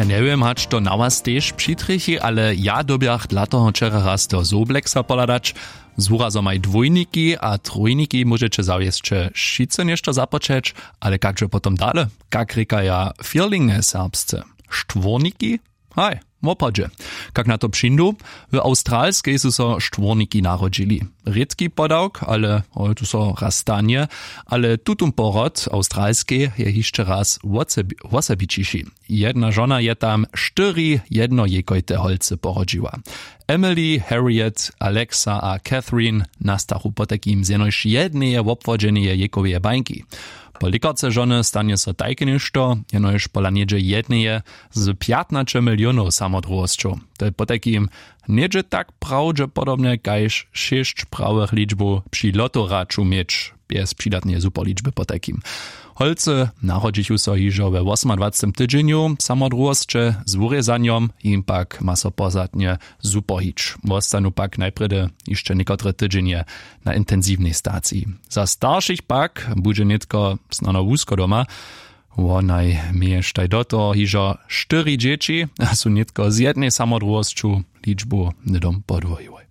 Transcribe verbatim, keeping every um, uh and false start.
Njewěm hač to na was tež přitrjechi, ale ja dyrbjach dla toho wčera raz do Sobleksa pohladać. Z wurazomaj dwójniki a trójniki móžeće zawjesće wšitcy něšto započeć. Ale kakže potom dale? Kak rěkaja firlinge serbsce? Štwórniki? Haj, wopodźe. Kak na to přińdu? W awstralskej su so štwórniki narodźili. Rědki podawk, ale hoj tu so raz stanje. Ale tutón porod awstralskej je hišće raz wosebićiši. Jedna žona je tam štyri jednojejkojte holcy porodźiła. Emily, Harriet, Alexa a Catherine nastachu potajkim z jenož jedneje wobwodźeneje jejkoweje bańki. Po lěkarce žony stanje so tajke něšto, jenož pola něhdźe jedneje z pjatnaće milionow samodruhosćow. To je potajkim něhdźe tak prawdźepodobnje kaž šěsć prawych ličbow při lotoraću měć, bjez přidatneje superličby potajkim. Holcy narodźichu so hižo we wosomadwacetym tydźenju samodruhosće z wurězanjom, jim pak ma so pozadnje zupohić. Wostanu pak najprjedy hišće někotre tydźenje na intensiwnej staciji. Za staršich pak budźe nětko snano wusko doma. Wonaj měještaj do toho hižo štyri dźěći a su nětko z jednej samodruhosću ličbu hnydom podwojiłoj.